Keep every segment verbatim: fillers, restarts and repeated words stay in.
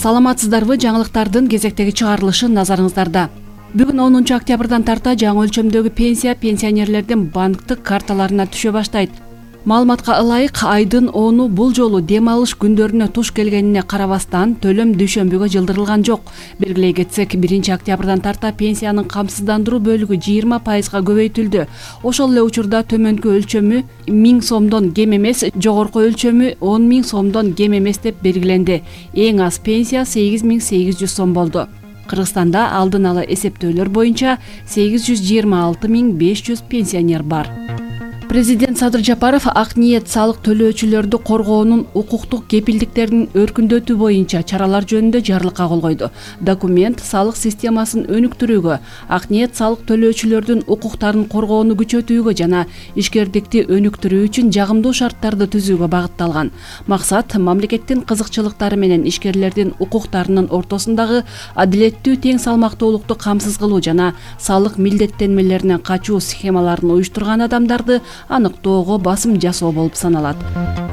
Саламатсыздарбы? Жаңылыктардын кезектеги чыгарылышы назарыңыздарда. Бүгүн онунчу октябрдан тарта жаңы өлчөмдөгү пенсия пенсионерлердин банктык карталарына түшө баштайт. Маалыматка ылайык, айдын оны бул жолу дем алыш күндөрүнө туш келгенине карабастан төлөм дүйшөмбүгө жылдырылган жок. Белгилей кетсек, биринчи октябрдан тарта пенсиянын камсыздандыруу бөлүгү жыйырма пайызга көбөйтүлдү. Ошол эле учурда төмөнкү өлчөмү миң сомдон кем эмес, жогорку өлчөмү он миң сомдон кем эмес деп белгиленди. Эң аз пенсия сегиз миң сегиз жүз сом болду. Кыргызстанда алдын ала эсептөөлөр боюнча сегиз жүз жыйырма алты миң беш жүз пенсионер бар. Президент Садыр Жапаров ак ниет салык төлөөчүлөрдү коргоонун укуктук кепилдиктерин өркүндөтүү боюнча чаралар жөнүндө жарлыкка кол койду. Документ салык системасын өнүктүрүүгө, ак ниет салык төлөөчүлөрдүн укуктарын коргоону күчөтүүгө жана ишкердикти өнүктүрүү үчүн жагымдуу шарттарды түзүүгө багытталган. Максат мамлекеттин кызыкчылыктары менен ишкерлердин укуктарынын ортосундагы адилеттүү тең салмактуулукту камсыз кылуу жана салык милдеттенмелеринен качуу схемаларын уюштурган адамдарды аныктоого басым жасоо болуп саналат.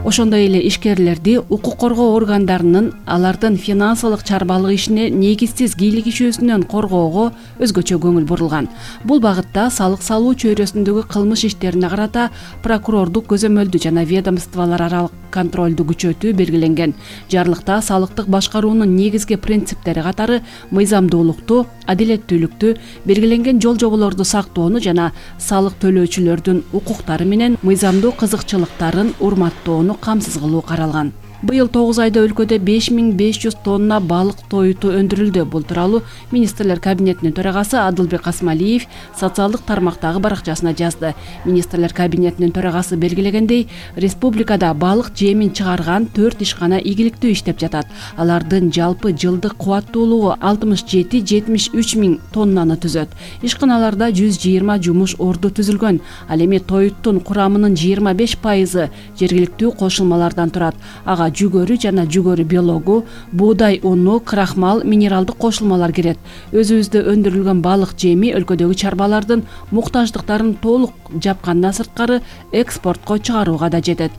Ошондой эле ишкерлерди укук коргоо органдарынын алардын финансылык чарбалык ишине негизсиз кийлигишүүсүнөн коргоого өзгөчө көңүл бурулган. Бул багытта салык салуу чөйрөсүндөгү кылмыш иштерине карата прокурордук көзөмөлдү жана ведомстволор аралык контролду күчөтүү белгиленген. Жарлыкта салыктык башкаруунун негизги принциптери катары мыйзамдуулукту, адилеттүүлүктү, белгиленген жол жоболорду сактоону жана салык төлөөчүлөрдүн укуктары менен мыйзамдуу кызыкчылыктарын урматтоону камсыз кылуу каралган. Быйыл тогуз айда өлкөдө беш миң беш жүз тонна балык тоюту өндүрүлдү. Бул тууралуу министрлер кабинетинин төрагасы Адылбек Касмалиев социалдык тармактагы баракчасына жазды. Министрлер кабинетинин төрагасы белгилегендей, республикада балык жемин чыгарган төрт ишкана ийгиликтүү иштеп жатат. Алардын жалпы жылдык кубаттуулугу алтымыш жети жетимиш үч миң тоннаны түзөт. Ишканаларда жүз жыйырма жумуш орду түзүлгөн. Ал эми тоюттун курамынын жыйырма беш пайызы жергиликтүү кошулмалардан турат. Ага жүгөрү жана жүгөрү биологу, буудай уну, крахмал, минералдык кошулмалар кирет. Өзүбүздө өндүрүлгөн балык жеми өлкөдөгү чарбалардын муктаждыктарын толук жапкандан сырткары экспортко чыгарууга да жетет.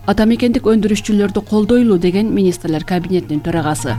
Атамекендик өндүрүшчүлөрдү колдойлу деген министрлер кабинетинин төрагасы.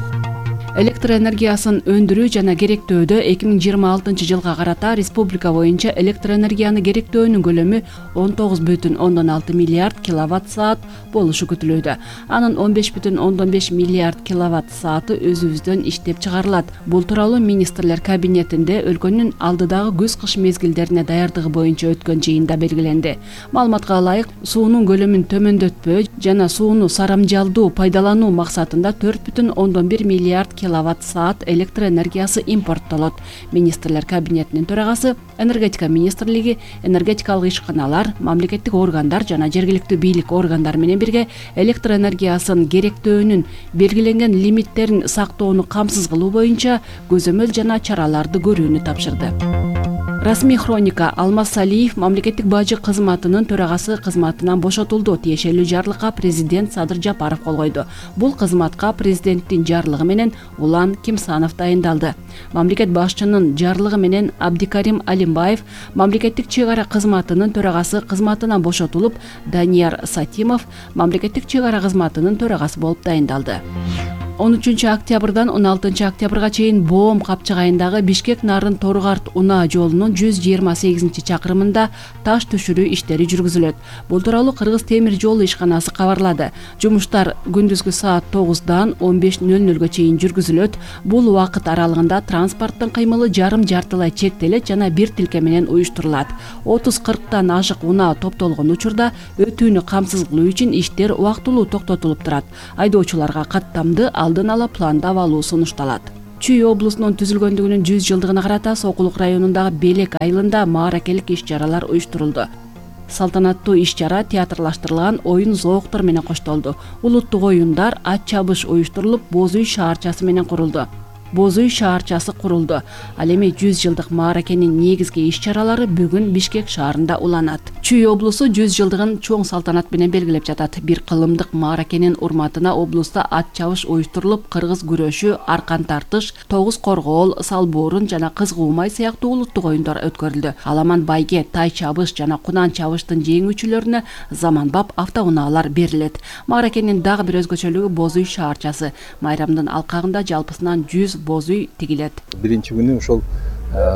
Электр энергиясын өндүрүү жана керектөөдө эки миң жыйырма алтынчы жылга карата республика боюнча электр энергияны керектөөнүн көлөмү он тогуз бүтүн ондон алты миллиард киловатт саат болушу күтүлүүдө. Анын он беш бүтүн ондон беш миллиард киловатт сааты өзүбүздөн иштеп чыгарылат. Бул тууралуу министрлер кабинетинде өлкөнүн алдыдагы күз-кыш мезгилдерине даярдыгы боюнча өткөн жыйында белгиленди. Маалыматка ылайык, суунун көлөмүн төмөндөтпөө жана сууну сарамжалдуу пайдалануу максатында төрт бүтүн ондон бир миллиард киловатт саат электр энергиясы импорттолот. Министрлер кабинетинин төрагасы энергетика министрлиги, энергетикалык ишканалар, мамлекеттик органдар жана жергиликтүү бийлик органдары менен бирге электр энергиясын керектөөнүн белгиленген лимиттерин сактоону камсыз кылуу боюнча көзөмөл жана чараларды көрүүнү тапшырды. Расмий хроника: Алмаз Салиев мамлекеттик бажы кызматынын төрагасы кызматынан бошотулду. Тиешелүү жарлыкка президент Садыр Жапаров кол койду. Бул кызматка президенттин жарлыгы менен Улан Кимсанов дайындалды. Мамлекет башчынын жарлыгы менен Абдикарим Алимбаев мамлекеттик чек ара кызматынын төрагасы кызматынан бошотулуп, Данияр Сатимов мамлекеттик чек ара кызматынын төрагасы болуп дайындалды. он үчүнчү октябрдан он алтынчы октябрга чейин Боом капчыгайындагы Бишкек-Нарын Торгарт унаа жолунун жүз жыйырма сегизинчи чакырымында таш түшүрүү иштери жүргүзүлөт. Бул тууралуу Кыргыз темир жолу ишканасы кабарлады. Жумуштар күндүзгү саат тогуздан он беш нөл нөлгө чейин жүргүзүлөт. Бул убакыт аралыгында транспорттун кыймылы жарым жартылай чектелет жана бир тилке менен уюштурулат. отуз кырктан ашык унаа топтолгон учурда өтүүнү камсыз кылуу үчүн иштер убактылуу токтотулуп турат. Айдоочуларга каттамды алдын ала пландап алуу сунушталат. Чүй облусунун түзүлгөндүгүнүн жүз жылдыгына карата Сокулук районундагы Белек айылында мааракелик иш-чаралар уюштурулду. Салтанаттуу иш-чара театрлаштырылган оюн-зооктор менен коштолду. Улуттук оюндар, ат чабыш уюштурулуп, Боз үй шаарчасы менен курулду. Боз үй шаарчасы курулду. Ал эми жүз жылдык мааракенин негизги иш-чаралары бүгүн Бишкек шаарында уланат. Чүй облусу жүз жылдыгын чоң салтанат менен белгилеп жатат. Бир кылымдык мааракенин урматына облуста ат чабыш уюштурулуп, кыргыз күрөшү, аркан тартыш, тогуз коргоол, салбоорун жана кыз куумай сыяктуу улуттук оюндар өткөрүлдү. Аламан байге, тай чабыш жана кунан чабыштын жеңүүчүлөрүнө заманбап автоунаалар берилет. Мааракенин дагы бир өзгөчөлүгү боз үй шаарчасы. Майрамдын алкагында жалпысынан жүз боз үй тигилет. Биринчи күнү ошол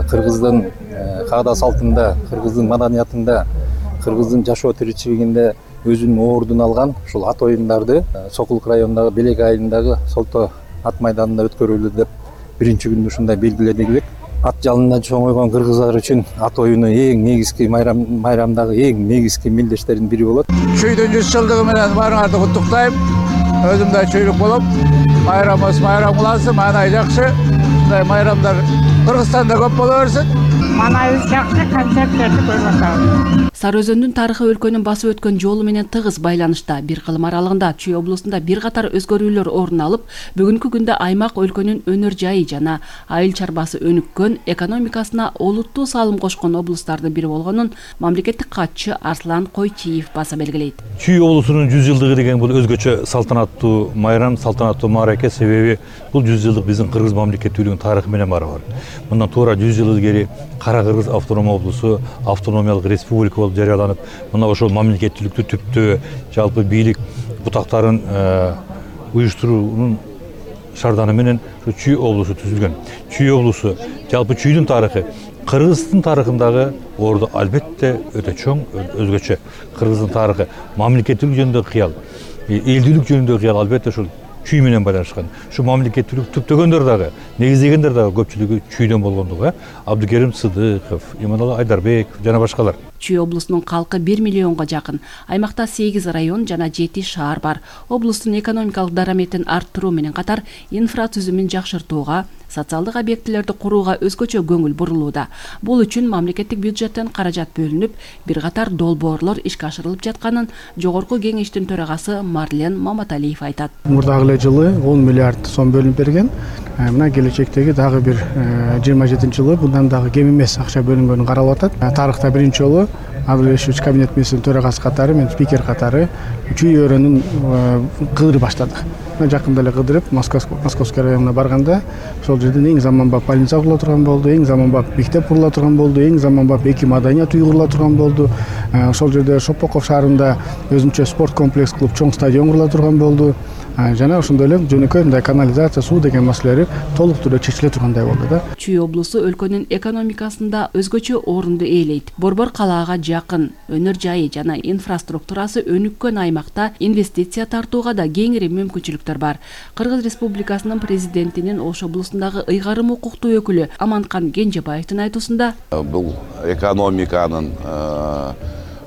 кыргыздын каада салтында, кыргыздын маданиятында, кыргыздын жашоо тиричилигинде өзүнүн ордун алган ушул ат оюндарды Сокулук районундагы Белек айылындагы Солто ат майданында өткөрүлдү деп биринчи күндү ушундай белгиледик элек. Ат жалында чоңойгон кыргыздар үчүн ат оюну эң негизги майрам майрамдагы эң негизги мелдештердин бири болот. Чүйдүн жүз жылдыгы менен баарыңарды куттуктайм. Өзүм да чүйлүк болуп, майрамыбыз майрам улансын, маанай жакшы. Мындай майрамдар Кыргызстанда көп боло берсин. Манайыбыз жакшы, концерттерди көрүп атабыз. Сары Өзөндүн тарыхы өлкөнүн басып өткөн жолу менен тыгыз байланышта. Бир кылым аралыгында Чүй облусунда бир катар өзгөрүүлөр орун алып, бүгүнкү күндө аймак өлкөнүн өнөр жайы жана айыл чарбасы өнүккөн, экономикасына олуттуу салым кошкон облустардын бири болгонун мамлекеттик катчы Арслан Койчиев баса белгилейт. Чүй облусунун жүз жылдыгы деген бул өзгөчө салтанаттуу майрам, салтанаттуу маараке, себеби бул жүз жылдык биздин кыргыз мамлекеттүүлүгүнүн тарыхы менен барабар. Мындан туура жүз жыл илгери Кара Кыргыз автоном облусу автономиялык республика болуп жарыяланып, мына ошол мамлекеттүүлүктү түптөө жалпы бийлик бутактарын уюштуруунун шарданы менен Чүй облусу түзүлгөн. Чүй облусу жалпы Чүйдүн тарыхы Кыргыздын тарыхындагы орду албетте өтө чоң, өзгөчө. Кыргыздын тарыхы мамлекеттүүлүк жөнүндөгү кыял, элдүүлүк жөнүндөгү кыял албетте ошол Чүй менен байланышкан. Ушу мамлекеттүүлүк түптөгөндөр дагы, негиздегендер дагы көпчүлүгү Чүйдөн болгондугу, Абдыкерим Сыдыков, Иманалы Айдарбеков жана башкалар. Чүй облусунун калкы бир миллионго жакын. Аймакта сегиз район жана жети шаар бар. Облустун экономикалык дараметин арттыруу менен катар инфратүзүмүн жакшыртууга, социалдык объектилерди курууга өзгөчө көңүл бурулууда. Бул үчүн мамлекеттик бюджеттен каражат бөлүнүп, бир катар долбоорлор ишке ашырылып жатканын Жогорку кеңештин төрагасы Марлен Маматалиев айтат. Мурдагы эле жылы он миллиард сом бөлүнүп берген. Мына келечектеги дагы бир жыйырма жетинчи жылы bundan дагы кем эмес акча бөлүнгөнү каралып атат. Тарыхта биринчи жолу Абдулешевич кабинет министринин төрагасы катары, мен спикер катары Чүй өрөөнүн кыдырып баштадык. Жакында эле кыдырып Московский районуна барганда ошол жерден эң заманбап больница курула турган болду, эң заманбап мектеп курула турган болду, эң заманбап эки маданият үйү курула турган болду. Ошол жерде Шопоков шаарында өзүнчө спорт комплекс кылып чоң стадион курула турган болду. Жана ошондой эле жөнөкөй мындай канализация, суу деген маселелери толук түрдө чечиле тургандай болду да. Чүй облусу өлкөнүн экономикасында өзгөчө орунду ээлейт. Борбор калаага жакын, өнөр жайы жана инфраструктурасы өнүккөн аймакта инвестиция тартууга да кеңири мүмкүнчүлүктөр бар. Кыргыз Республикасынын президентинин Ош облусундагы ыйгарым укуктуу өкүлү Аманкан Кенжебаевдин айтуусунда бул экономиканын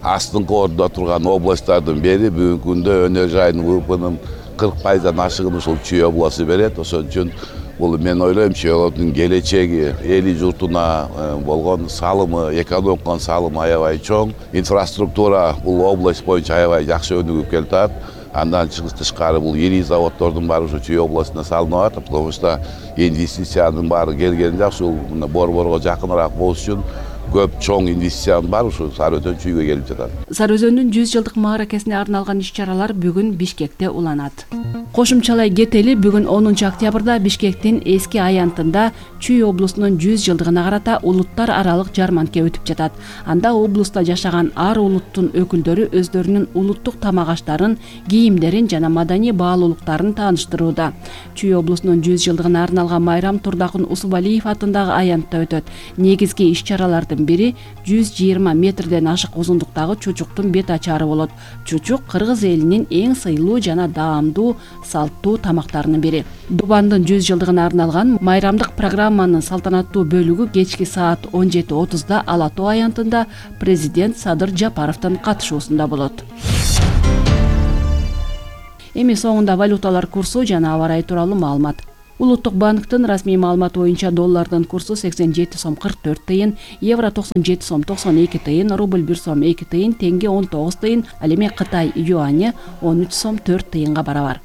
астыңкы ордуда турган областтардын бири бүгүнкү күндө өнөр жайынын ВВПнын кырк пайыздан ашыгын ушул Чүй обласу берет. Ошон үчүн бул мен ойлойм Чүй облусунун келечеги, эли журтуна болгон салымы, экономиканын салымы аябай чоң. Инфраструктура бул область боюнча аябай жакшы өнүгүп келатат. Андан тышкары бул ири заводдордун баары ушу Чүй областына салынып атат. Потому что инвестициянын баары келгени жакшы. Бул Борборго жакыныраак болуш үчүн көп чоң инвестициянын бар ушу Сары Өзөн Чүйгө келип жатат. Сары Өзөндүн жүз жылдык мааракесине арналган иш-чаралар бүгүн Бишкекте уланат. Кошумчалай кетели, бүгүн онунчу октябрда Бишкектин эски аянтында Чүй облусунун жүз жылдыгына карата улуттар аралык жарманке өтүп жатат. Анда облуста жашаган ар улуттун өкүлдөрү өздөрүнүн улуттук тамак аштарын, кийимдерин жана маданий баалуулуктарын тааныштырууда. Чүй облусунун жүз жылдыгына арналган майрам Турдакын Усубалиев атындагы аянтта өтөт. Негизги иш-чаралардын бири жүз жыйырма метрден ашык узундуктагы чучуктун бет ачары болот. Чучук кыргыз элинин эң сыйлуу жана даамдуу салттуу тамактарынын бири. Дубандын жүз жылдыгына арналган майрамдык программанын салтанаттуу бөлүгү кечки саат он жети отузда Ала Тоо аянтында президент Садыр Жапаровдун катышуусунда болот. Эми соңунда валюталар курсу жана аба ырайы тууралуу маалымат. Улуттук банктын расмий маалыматы боюнча доллардын курсу сексен жети сом кырк төрт тыйын, евро токсон жети сом токсон эки тыйын, рубль бир сом эки тыйын, теңге он тогуз тыйын, ал эми Кытай юаньы он үч сом төрт тыйынга барабар.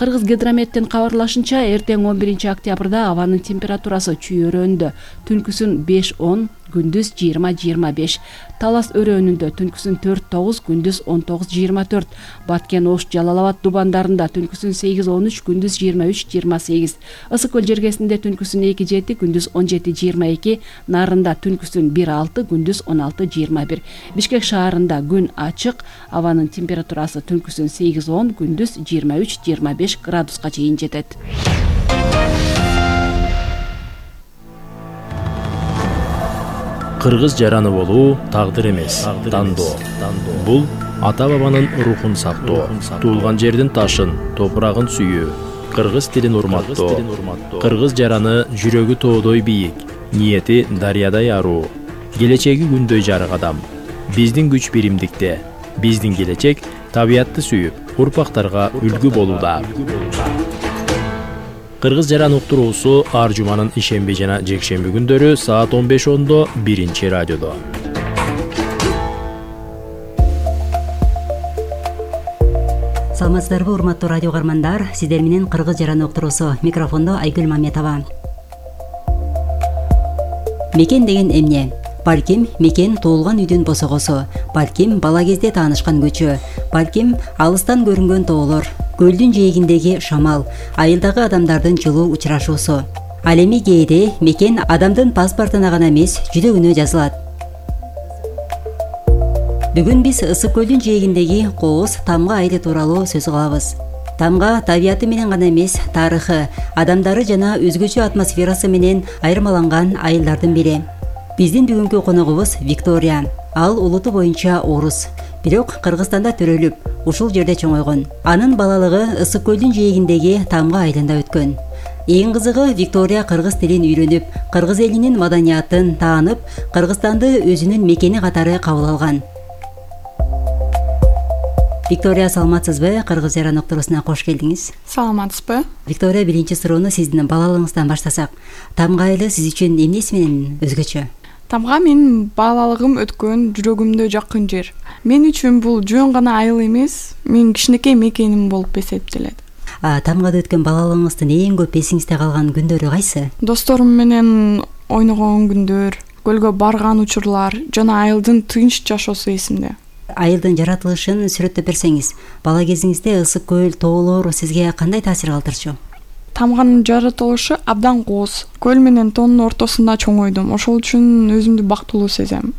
Кыргыз гидрометтин кабарлашынча, эртең он биринчи октябрда абанын температурасы чүй өрөөнүндө түнкүсүн беш он, күндүз жыйырма жыйырма беш, Талас өрөөнүндө түнкүсүн төрт тогуз, күндүз он тогуз жыйырма төрт, Баткен, Ош, Жалал Абад дубандарында түнкүсүн сегиз он үч, күндүз жыйырма үч жыйырма сегиз, Ысык көл жергесинде түнкүсүн эки жети, күндүз он жети жыйырма эки, Нарында түнкүсүн бир алты, күндүз он алты жыйырма бир. Бишкек шаарында күн ачык, абанын температурасы түнкүсүн сегиз он, күндүз жыйырма үч жыйырма беш градуска чейин жетет. Кыргыз жараны болуу тагдыр эмес, тандоо. Бул ата бабанын рухун сактоо, туулган жердин ташын, топурагын сүйүү, кыргыз тилин урматтоо. Кыргыз жараны жүрөгү тоодой бийик, ниети дарыядай аруу, келечеги күндөй жарык адам. Биздин күч биримдикте, биздин келечек табиятты сүйүп, урпактарга үлгү болууда. Кыргыз жаран уктуруусу ар жуманын ишемби жана жекшемби күндөрү саат он беш ондо биринчи радиодо. Саламатсыздарбы, урматтуу радио каармандар, сиздер менен Кыргыз жаран уктуруусу, микрофондо Айгүл Маметова. Мекен деген эмне? Балким мекен туулган үйдүн босогосу, балким бала кезде таанышкан көчө, балким алыстан көрүнгөн тоолор, көлдүн жээгиндеги шамал, айылдагы адамдардын жылуу учурашуусу. Ал эми кээде мекен адамдын паспортуна гана эмес, жүрөгүнө жазылат. Бүгүн биз Ысык көлдүн жээгиндеги Кооз Тамга айылы тууралуу сөз кылабыз. Тамга табияты менен гана эмес, тарыхы, адамдары жана өзгөчө атмосферасы менен айырмаланган айылдардын бири. Биздин бүгүнкү коногубуз Виктория. Ал улуту боюнча орус, бирок Кыргызстанда төрөлүп, ушул жерде чоңойгон. Анын балалыгы Ысык көлдүн жээгиндеги Тамга айылында өткөн. Эң кызыгы, Виктория кыргыз тилин үйрөнүп, кыргыз элинин маданиятын таанып, Кыргызстанды өзүнүн мекени катары кабыл алган. Виктория, саламатсызбы? Кыргыз жаран уктуруусуна кош келдиңиз. Саламатсызбы? Виктория, биринчи суроону сиздин балалыгыңыздан баштасак. Тамга айылы сиз үчүн эмнеси менен өзгөчө? Тамга менин балалыгым өткөн, жүрөгүмдө жакын жер. Мен үчүн бул жөн гана айыл эмес, менин кичинекей мекеним болуп эсептелет. Тамгада өткөн балалыгыңыздын эң көп эсиңизде калган күндөрү кайсы? Досторум менен ойногон күндөр, көлгө барган учурлар жана айылдын тынч жашоосу эсимде. Айылдын жаратылышын сүрөттөп берсеңиз, бала кезиңизде ысык көл, тоолор сизге кандай таасир калтырчу? Тамганын жаратылышы абдан кооз. Көл менен тоонун ортосунда чоңойдум. Ошол үчүн өзүмдү бактылуу сезем.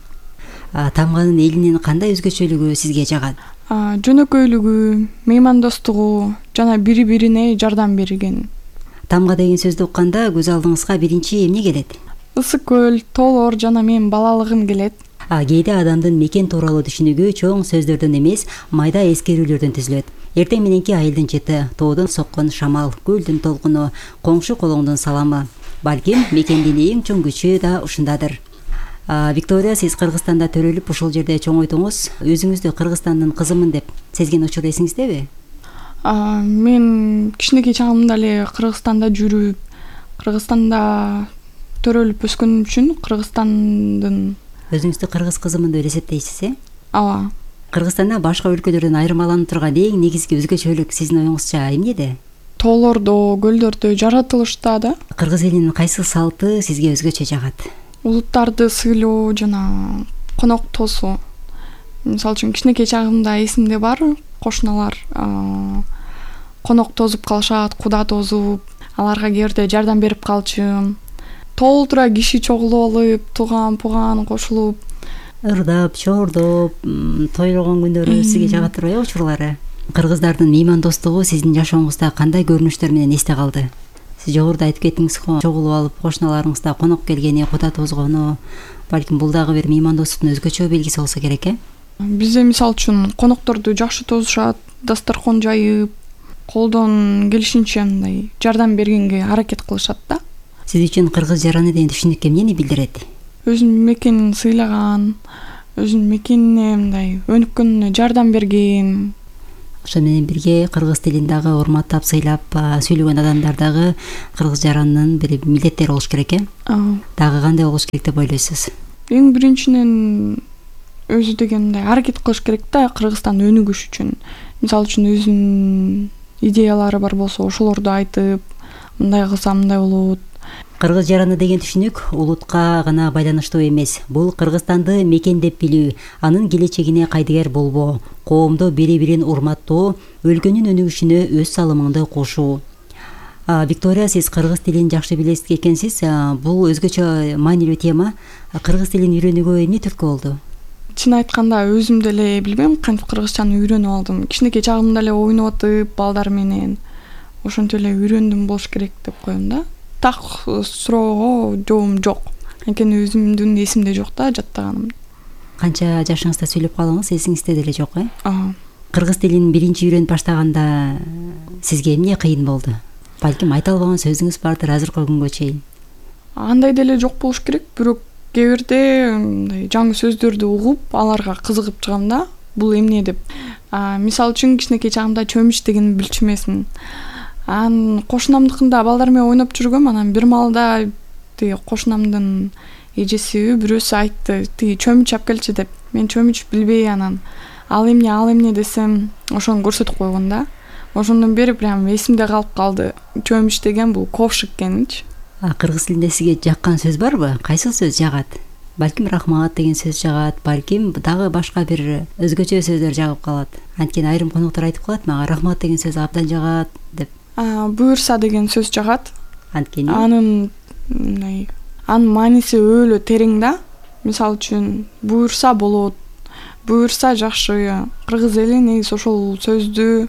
Тамганын элинин кандай өзгөчөлүгү сизге жагат? Жөнөкөйлүгү, меймандостугу жана бири-бирине жардам берген. Тамга деген сөздү укканда көз алдыңызга биринчи эмне келет? Ысык көл, тоолор жана менин балалыгым келет. Кээде адамдын мекен тууралуу түшүнүгү чоң сөздөрдөн эмес, майда эскерүүлөрдөн түзүлөт. Эртең мененки айылдын чети, тоодон соккон шамал, көлдүн толкуну, коңшу колоңдун саламы. Балким мекендин эң чоң күчү да ушундадыр. Виктория, сиз Кыргызстанда төрөлүп, ушул жерде чоңойдуңуз. Өзүңүздү Кыргызстандын кызымын деп сезген учур эсиңиздеби? Мен кичинекей чагымда эле Кыргызстанда жүрүп, Кыргызстанда төрөлүп өскөнүм үчүн Кыргызстандын өзүңүздү кыргыз кызымын деп эсептейсиз, э? Ооба. Кыргызстанда башка өлкөлөрдөн айырмаланып турган эң негизги өзгөчөлүк сиздин оюңузча эмнеде? Тоолордо, көлдөрдө, жаратылышта да. Кыргыз элинин кайсы салты сизге өзгөчө жагат? Улуттарды сыйлоо жана конок тосуу. Мисалы үчүн кичинекей чагымда эсимде бар, кошуналар конок тосуп калышат, куда тосуп, аларга кээ бирде жардам берип калчу. Толтура киши чогулуп алып, туган-пуган кошулуп, ырдап, чордоп, тойлогон күндөрү сизге жагат турбайбы учурлары? Кыргыздардын меймандостугу сиздин жашооңузда кандай көрүнүштөр менен эсте калды? Сиз жогоруда айтып кеттиңиз го, чогулуп алып, кошуналарыңызда конок келгени, куда тозгону, балким бул дагы бир меймандостуктун өзгөчө белгиси болсо керек, э? Бизде мисалы үчүн конокторду жакшы тосушат, дасторкон жайып, колдон келишинче мындай жардам бергенге аракет кылышат да. Сиз үчүн кыргыз жараны деген түшүнүк эмнени билдирет? Өзүнүн мекенин сыйлаган, өзүнүн мекенине мындай өнүккөнүнө жардам берген. Ошол менен бирге кыргыз тилин дагы урматтап, сыйлап сүйлөгөн адамдар дагы кыргыз жаранынын бир милдеттери болуш керек, э? Дагы кандай болуш керек деп ойлойсуз? Эң биринчиден өзү деген мындай аракет кылыш керек да, Кыргызстан өнүгүш үчүн. Мисалы үчүн өзүнүн идеялары бар болсо ошолорду айтып, мындай кылсам мындай болот. Кыргыз жараны деген түшүнүк улутка гана байланыштуу эмес. Бул Кыргызстанды мекендеп билүү, анын келечегине кайдыгер болбоо, коомдо бири-бирин урматтоо, өлкөнүн өнүгүшүнө өз салымыңды кошуу. Виктория, сиз кыргыз тилин жакшы билесиз экенсиз. Бул өзгөчө маанилүү тема. Кыргыз тилин үйрөнүүгө эмне түрткү болду? Чын айтканда өзүм деле билбейм кантип кыргызчаны үйрөнүп алдым. Кичинекей чагымда эле ойноп атып балдар менен ошентип эле үйрөндүм болуш керек деп коем да. Так суроого жообум жок. Анткени өзүмдүн эсимде жок да жаттаганым. Канча жашыңызда сүйлөп калдыңыз, эсиңизде деле жок, э? Ага. Кыргыз тилин биринчи үйрөнүп баштаганда сизге эмне кыйын болду? Балким айта албаган сөзүңүз бардыр азыркы күнгө чейин. Андай деле жок болуш керек, бирок кээ бирде мындай жаңы сөздөрдү угуп, аларга кызыгып чыгам да. Бул эмне деп. Мисалы үчүн кичинекей чагымда чөмүч дегенди билчү эмесмин. Анан кошунамдыкында балдар менен ойноп жүргөм, анан бир маалда тиги кошунамдын эжеси бирөөсү айтты, тиги чөмүч алып келчи деп. Мен чөмүч билбей анан ал эмне, ал эмне десем, ошону көрсөтүп койгон да. Ошондон бери прям эсимде калып калды. Чөмүч деген бул ковшик экенинчи. Кыргыз тилинде сизге жаккан сөз барбы? Кайсы сөз жагат? Балким рахмат деген сөз жагат, балким дагы башка бир өзгөчө сөздөр жагып калат. Анткени айрым коноктор айтып калат, мага рахмат деген сөз абдан жагат деп. Буюрса деген сөз жагат. Анткени анын мындай анын мааниси өөлө терең да. Мисалы үчүн буюрса болот, буюрса жакшы. Кыргыз эли негизи ошол сөздү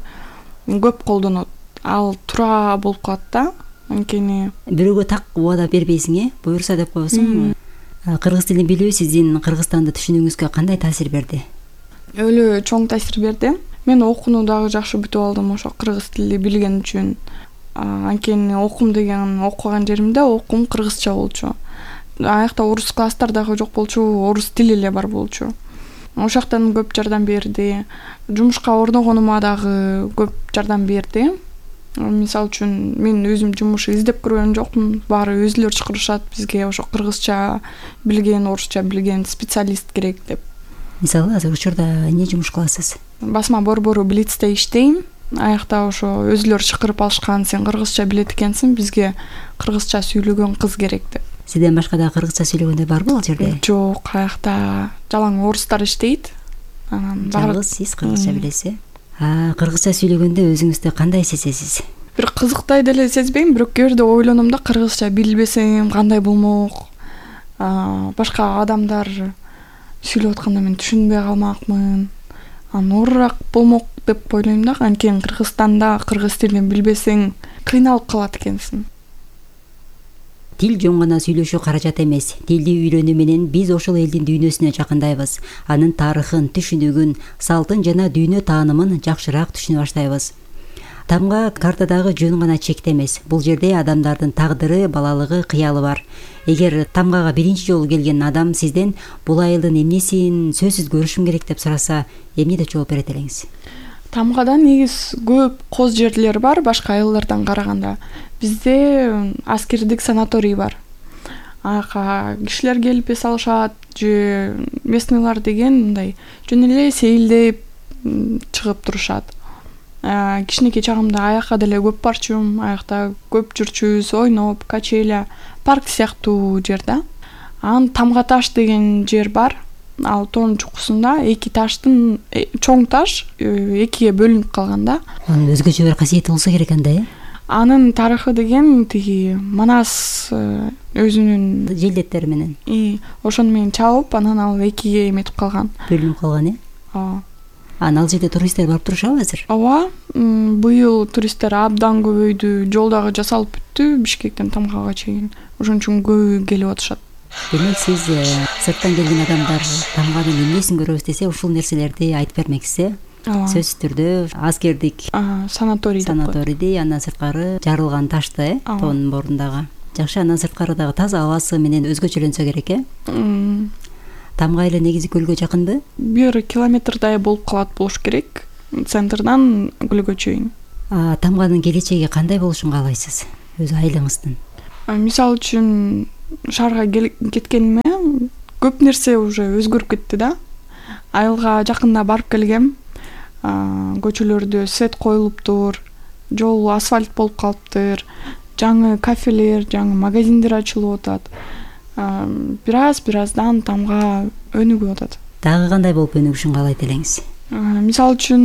көп колдонот. Ал туура болуп калат да. Анткени бирөөгө так убада бербейсиң, э? Буюрса деп коесуң. Кыргыз тилин билүү сиздин Кыргызстанды түшүнүүңүзгө кандай таасир берди? Өлө чоң таасир берди. Мен окууну дагы жакшы бүтүп алдым ошо кыргыз тили билген үчүн. Анткени окум деген окуган жеримде окум кыргызча болчу. Аякта орус класстар дагы жок болчу, орус тили эле бар болчу. Ошол жактан көп жардам берди. Жумушка орногонума дагы көп жардам берди. Мисалы үчүн мен өзүм жумуш издеп көргөн жокмун. Баары өзүлөрү чакырышат бизге ошо кыргызча билген, орусча билген специалист керек деп. Мисалы азыр учурда эмне жумуш кыласыз? Басма борбору Блицте иштейм. Аякта ошо өзүлөрү чакырып алышкан, сен кыргызча билет экенсиң, бизге кыргызча сүйлөгөн кыз керек деп. Сизден башка да кыргызча сүйлөгөндөр барбы ал жерде? Жок, аякта жалаң орустар иштейт. Анан жалгыз сиз кыргызча билесиз. Кыргызча сүйлөгөндө өзүңүздү кандай сезесиз? Бир кызыктай деле сезбейм, бирок кээ бирде ойлоном да, кыргызча билбесем кандай болмок? Башка адамдар сүйлөп атканда мен түшүнбөй калмакмын. Анан оорураак болмок деп ойлойм да. Анткени Кыргызстанда кыргыз тилин билбесең кыйналып калат экенсиң. Тил жөн гана сүйлөшүү каражат эмес. Тилди үйрөнүү менен биз ошол элдин дүйнөсүнө жакындайбыз. Анын тарыхын, түшүнүгүн, салтын жана дүйнө таанымын жакшыраак түшүнө баштайбыз. Тамга картадагы жөн гана чекте эмес. Бул жерде адамдардын тагдыры, балалыгы, кыялы бар. Эгер Тамгага биринчи жолу келген адам сизден бул айылдын эмнесин сөзсүз көрүшүм керек деп сураса, эмне деп жооп берет элеңиз? Тамгада негиз көп коз жерлер бар башка айылдардан караганда. Бизде аскердик санаторий бар. Ага кишилер келип эс алышат, же местныйлар деген мындай жөн эле сейилдеп чыгып турушат. Кичинекей чагымда аякка деле көп барчумун, аякта көп жүрчүбүз, ойноп, качеля, парк сыяктуу жер да. Анан Тамга таш деген жер бар. Ал тоонун чукусунда эки таштын чоң таш экиге бөлүнүп калган да. Анын өзгөчө бир касиети болсо керек анда, э? Анын тарыхы деген тиги Манас өзүнүн желдеттери менен. И ошону менен чабып, анан ал экиге эметип калган. Бөлүнүп калган, э? Ооба. Анан ал жерде туристтер барып турушабы азыр? Ооба. Быйыл туристтер абдан көбөйдү. Жол дагы жасалып бүттү Бишкектен Тамгага чейин. Ошон үчүн көбү келип атышат. Демек сиз сырттан келген адамдар Тамганын эмнесин көрөбүз десе, ушул нерселерди айтып бермексиз, э? Сөзсүз түрдө аскердик санаторий санаторийди, андан сырткары жарылган ташты, э, тоонун борундагы. Жакшы, андан сырткары дагы таза абасы менен өзгөчөлөнсө керек, э? Тамга эле негизи көлгө жакынбы? Бир километрдай болуп калат болуш керек, центрдан көлгө чейин. Тамганын келечеги кандай болушун каалайсыз өз айылыңыздын? Мисалы үчүн шаарга кеткениме көп нерсе уже өзгөрүп кетти да. Айылга жакында барып келгем. Көчөлөрдө свет коюлуптур, жол асфальт болуп калыптыр, жаңы кафелер, жаңы магазиндер ачылып атат. Бир аз бир аздан тамга өнүгүп атат. Дагы кандай болуп өнүгүшүн каалайт элеңиз? Мисалы үчүн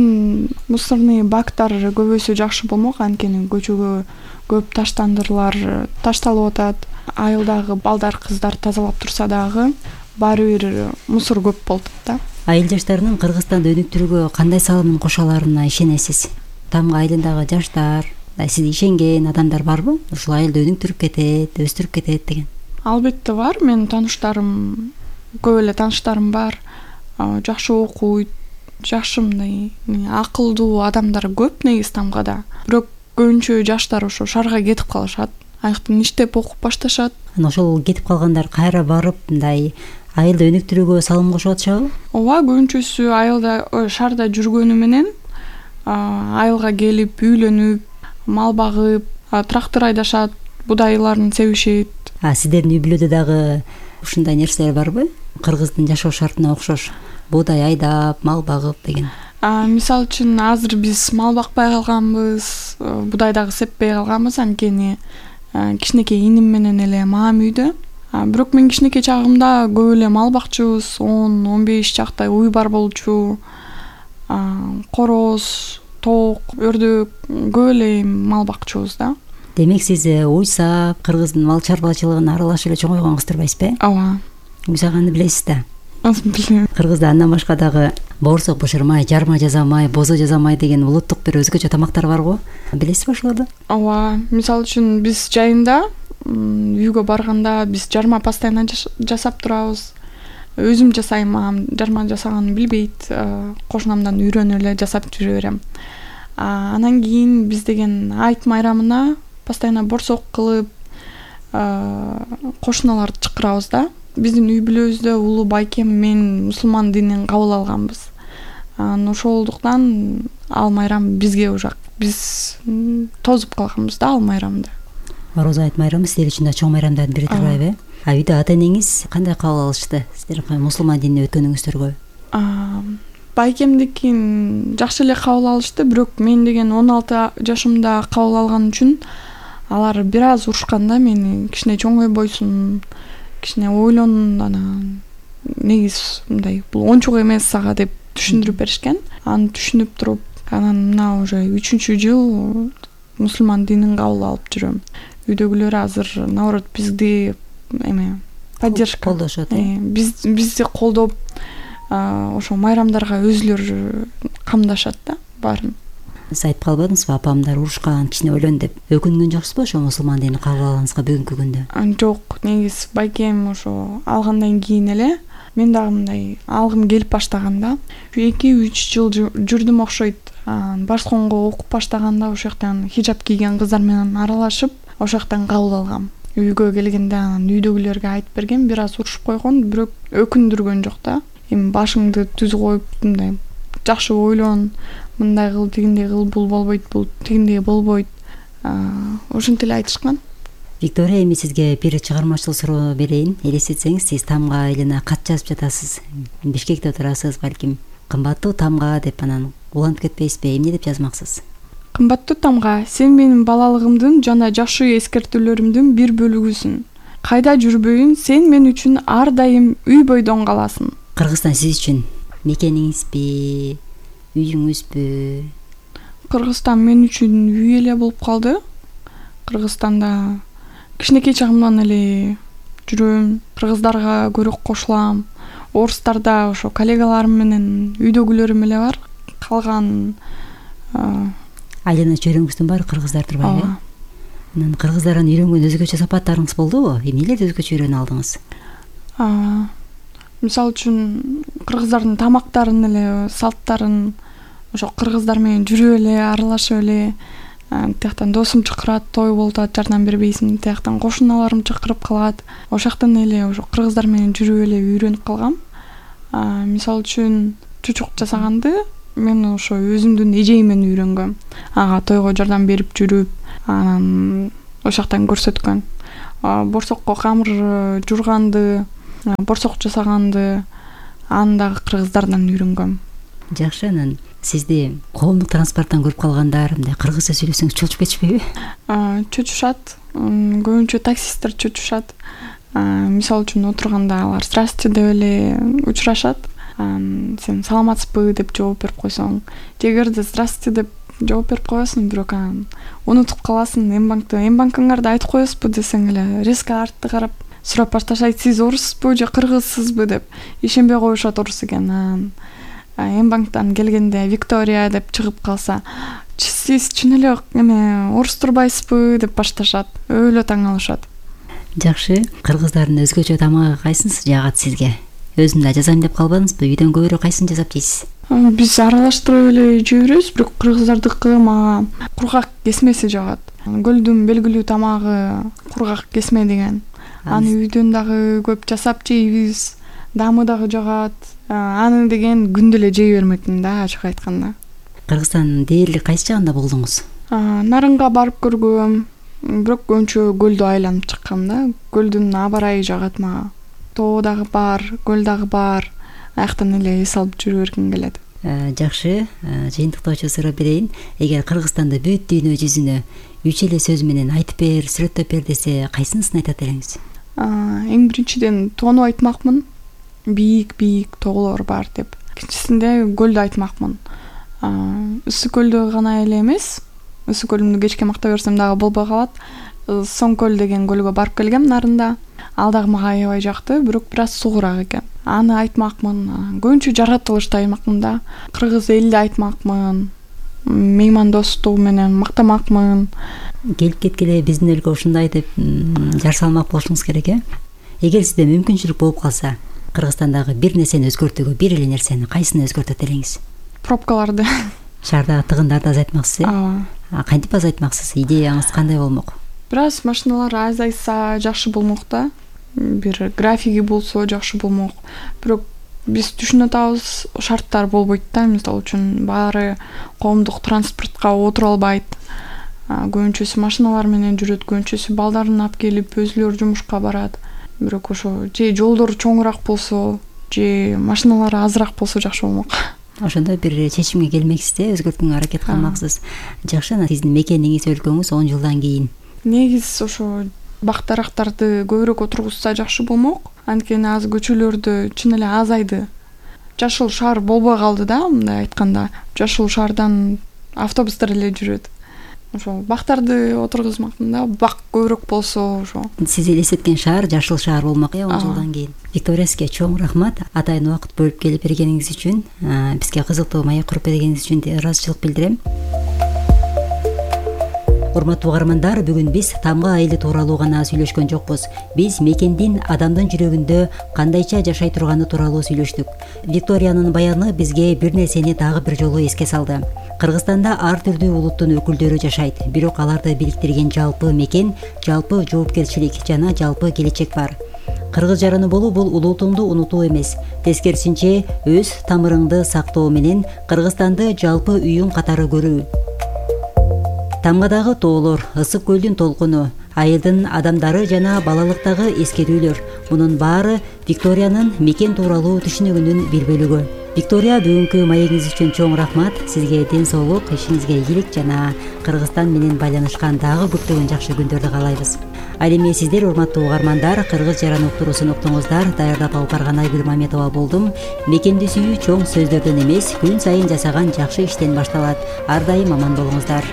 мусорный бактар көбөйсө жакшы болмок, анткени көчөгө көп таштандыруулар ташталып атат. Айылдагы балдар, кыздар тазалап турса дагы баары бир мусор көп болуп атат да. Айыл жаштарынын Кыргызстанды өнүктүрүүгө кандай салымын кошо аларына ишенесиз? Тамга айылындагы жаштар, сизге ишенген адамдар барбы? Ушул айылды өнүктүрүп кетет, өстүрүп кетет деген. Албетте бар. Менин тааныштарым, көп эле тааныштарым бар. Жакшы окуйт, жакшы мындай акылдуу адамдар көп негизи Тамгада. Бирок көбүнчө жаштар ошо шаарга кетип калышат. Аяктан иштеп окуп башташат. Анан ошол кетип калгандар кайра барып мындай айылды өнүктүрүүгө салым кошуп атышабы? Ооба, көбүнчөсү айылда, шаарда жүргөнү менен айылга келип, үйлөнүп, мал багып, трактор айдашат, будайларын себишет. А сиздердин үй бүлөдө дагы ушундай нерселер барбы? Кыргыздын жашоо шартына окшош буудай айдап, мал багып деген. Мисалы үчүн азыр биз мал бакпай калганбыз, будай дагы сеппей калганбыз, анткени кичинекей иним менен эле маам үйдө. Бирок мен кичинекей чагымда көп эле мал бакчыбыз, он он беш чактай уй бар болчу. Короз, тоок, өрдөк, көп эле мал бакчыбыз да. Демек сиз уйсап, кыргыздын мал чарбачылыгына аралашып эле чоңойгонго турбайсызбы? Ооба. Уйсаганды билесиз да? Билем. Кыргызда андан башка дагы боорсок бышырмай, жарма жасамай, бозо жасамай деген улуттук бир өзгөчө тамактар бар го. Билесизби ошолорду? Ооба. Мисалы үчүн биз жайында үйгө барганда биз жарма постоянно жасап турабыз. Өзүм жасайм, жарма жасаганын билбейт. Кошунамдан үйрөнүп эле жасап жүрө берем. Анан кийин биз деген айт майрамына постоянно борсок кылып кошуналарды чакырабыз да. Биздин үй бүлөбүздө улуу байкем мен мусулман динин кабыл алганбыз. Анан ошолдуктан ал майрам бизге ужак. Биз тозуп калганбыз да ал майрамда. Орозо айт майрамы сиздер үчүн да чоң майрамдардын бири турбайбы? А үйдө ата энеңиз кандай кабыл алышты сиздер мусулман динине өткөнүңүздөргө? Байкемдикин жакшы эле кабыл алышты, бирок мен деген он алты жашымда кабыл алган үчүн алар бир аз урушкан да мени. Кичине чоңойбойсуң, кичине ойлон, анан негиз мындай бул ончук эмес сага деп түшүндүрүп беришкен. Аны түшүнүп туруп, анан мына уже үчүнчү жыл мусулман динин кабыл алып жүрөм. Үйдөгүлөр азыр наоборот бизди эме поддержка колдошот. Биз бизди колдоп, ошо майрамдарга өзүлөр камдашат да баарын. Сиз айтып калбадыңызбы, апамдар урушкан, кичине ойлон деп. Өкүнгөн жоксузбу ошо мусулман динин кабыл алганыңызга бүгүнкү күндө? Жок, негиз байкем ошо алгандан кийин эле мен дагы мындай алгым келип баштаганда, эки үч жыл жүрдүм окшойт. Башконго окуп баштаганда ошол жактан хижап кийген кыздар менен аралашып, ошол жактан кабыл алгам. Үйгө келгенде анан үйдөгүлөргө айтып берген, бир аз урушуп койгон, бирок өкүндүргөн жок да. Эми башыңды түз коюп, мындай жакшы ойлон, мындай кыл, тигиндей кыл, бул болбойт, бул тигиндей болбойт. Ошентип эле айтышкан. Виктория, эми сизге бир чыгармачыл суроо берейин. Элестетсеңиз, сиз Тамга айылына кат жазып жатасыз. Бишкекте турасыз, балким. Кымбаттуу Тамга деп анан уланып кетпейсизби? Эмне деп жазмаксыз? Кымбаттуу Тамга, сен менин балалыгымдын жана жакшы эскертүүлөрүмдүн бир бөлүгүсүң. Кайда жүрбөйүн, сен мен үчүн ар дайым үй бойдон каласың. Кыргызстан сиз үчүн мекениңизби, үйүңүзбү? Кыргызстан мен үчүн үй эле болуп калды. Кыргызстанда кичинекей чагымдан эле жүрөм, кыргыздарга көрөк кошулам. Орустарда ошо коллегаларым менен үйдөгүлөрүм эле бар. Калган айылына чөйрөңүздүн баары кыргыздар турбайбы? Анан кыргыздардан үйрөнгөн өзгөчө сапаттарыңыз болдубу? Эмнелерди өзгөчө үйрөнө алдыңыз? Мисалы үчүн кыргыздардын тамактарын эле, салттарын, ошо кыргыздар менен жүрүп эле, аралашып эле, тияктан досум чакырат, той болуп атат, жардам бербейсиң, тияктан кошуналарым чакырып калат. Ошоктон эле ошо кыргыздар менен жүрүп эле үйрөнүп калгам. Мисалы үчүн чучук жасаганды мен ошо өзүмдүн эжейимден үйрөнгөм. Ага тойго жардам берип жүрүп, анан ошоктан көрсөткөн. Борсокко камыр журганды, борсок жасаганды аны дагы кыргыздардан үйрөнгөм. Жакшы, анан Сизди коомдук транспорттон көрүп калгандар мындай кыргызча сүйлөсөңүз чочуп кетишпейби? Чочушат. Көбүнчө таксисттер чочушат. Мисалы үчүн отурганда алар «Здрасте» деп эле учурашат. Сен саламатсызбы деп жооп берип койсоң, эгерде «Здрасте» деп жооп берип коесуң, бирок анан унутуп каласың. Мбанкты, Мбанкыңарды айтып коесузбу десең эле, резко артты карап сурап башташат, сиз оруссузбу же кыргызсызбы деп. Ишенбей коюшат орус экенин. Мбанктан келгенде Виктория деп чыгып калса, сиз чын эле эме орус турбайсызбы деп башташат. Өлө таң алышат. Жакшы. Кыргыздардын өзгөчө тамагы кайсынысы жагат сизге? Өзүм да жазайм деп калбадыңызбы? Үйдөн көбүрөөк кайсын жасап жейсиз? Биз аралаштырып эле жей беребиз, бирок кыргыздардыкы мага кургак кесмеси жагат. Көлдүн белгилүү тамагы кургак кесме деген. Аны үйдөн дагы көп жасап жейбиз. Дамы дагы жагат. Аны деген күндө эле жей бермекмин да, ачык айтканда. Кыргызстандын дээрлик кайсы жагында болдуңуз? Нарынга барып көргөм, бирок көбүнчө көлдү айланып чыккам да. Көлдүн аба ырайы жагат мага. Тоо дагы бар, көл дагы бар. Аяктан эле эс алып жүрө бергим келет. Жакшы, жыйынтыктоочу суроо берейин. Эгер Кыргызстанды бүт дүйнө жүзүнө үч эле сөз менен айтып бер, сүрөттөп бер десе, кайсынысын айтат элеңиз? Эң биринчиден тоону айтмакмын. Бийик-бийик тоолор бар деп. Экинчисинде көлдү айтмакмын. Ысык көлдү гана эле эмес, ысык көлүмдү кечке макта берсем дагы болбой калат. Соң көл деген көлгө барып келгем Нарында. Ал дагы мага аябай жакты, бирок бир аз суугураак экен. Аны айтмакмын. Көбүнчө жаратылышты айтмакмын да. Кыргыз элди айтмакмын. Меймандостугу менен мактамакмын. Келип кеткеле биздин өлкө ушундай деп жар салмак болушуңуз керек э? Эгер сизде мүмкүнчүлүк болуп калса, Кыргызстандагы бир нерсени өзгөртүүгө бир эле нерсени кайсыны өзгөртөт элеңиз? Пробкаларды. Шаардагы тыгындарды азайтмаксыз э? Ооба. Кантип азайтмаксыз? Идеяңыз кандай болмок? Бир аз машиналар азайса жакшы болмок да. Бир графиги болсо жакшы болмок. Бирок биз түшүнүп атабыз, шарттар болбойт да. Мисалы үчүн баары коомдук транспортко отура албайт. Көбүнчөсү машиналар менен жүрөт, көбүнчөсү балдарын алып келип өзүлөрү жумушка барат. Бирок ошо же жолдор чоңураак болсо, же машиналар азыраак болсо жакшы болмок. Ошондо бир чечимге келмексиз да, өзгөртүүгө аракет кылмаксыз. Жакшы, анан сиздин мекениңиз, өлкөңүз он жылдан кийин негиз ошо бак дарактарды көбүрөөк отургузса жакшы болмок. Анткени азыр көчөлөрдө чын эле азайды. Жашыл шаар болбой калды да, мындай айтканда. Жашыл шаардан автобустар эле жүрөт. Ошо бактарды отургузмакмын да, бак көбүрөөк болсо ошо. Сиз элестеткен шаар жашыл шаар болмок э он жылдан кийин. Виктория, сизге чоң рахмат. Атайын убакыт бөлүп келип бергениңиз үчүн, бизге кызыктуу маек куруп бергениңиз үчүн ыраазычылык билдирем. Урматтуу угармандар, бүгүн биз тамга айылы тууралуу гана сүйлөшкөн жокпуз. Биз мекендин адамдын жүрөгүндө кандайча жашай турганы тууралуу сүйлөштүк. Викториянын баяны бизге бир нерсени дагы бир жолу эске салды. Кыргызстанда ар түрдүү улуттун өкүлдөрү жашайт, бирок аларды бириктирген жалпы мекен, жалпы жоопкерчилик жана жалпы келечек бар. Кыргыз жараны болуу бул улутуңду унутуу эмес, тескерисинче өз тамырыңды сактоо менен Кыргызстанды жалпы үйүң катары көрүү. Тамгадагы тоолор, ысык көлдүн толкуну, айылдын адамдары жана балалыктагы эскерүүлөр, мунун баары Викториянын мекен тууралуу түшүнүгүнүн бир бөлүгү. Виктория, бүгүнкү маегиңиз үчүн чоң рахмат. Сизге ден соолук, ишиңизге ийгилик жана Кыргызстан менен байланышкан дагы көптөгөн жакшы күндөрдү каалайбыз. Ал эми сиздер, урматтуу угармандар, Кыргыз жаран уктуруусун уктуңуздар. Даярдап алып барган Айгүл Маметова болдум. Мекенди сүйүү чоң сөздөрдөн эмес, күн сайын жасаган жакшы иштен башталат. Ар дайым аман болуңуздар.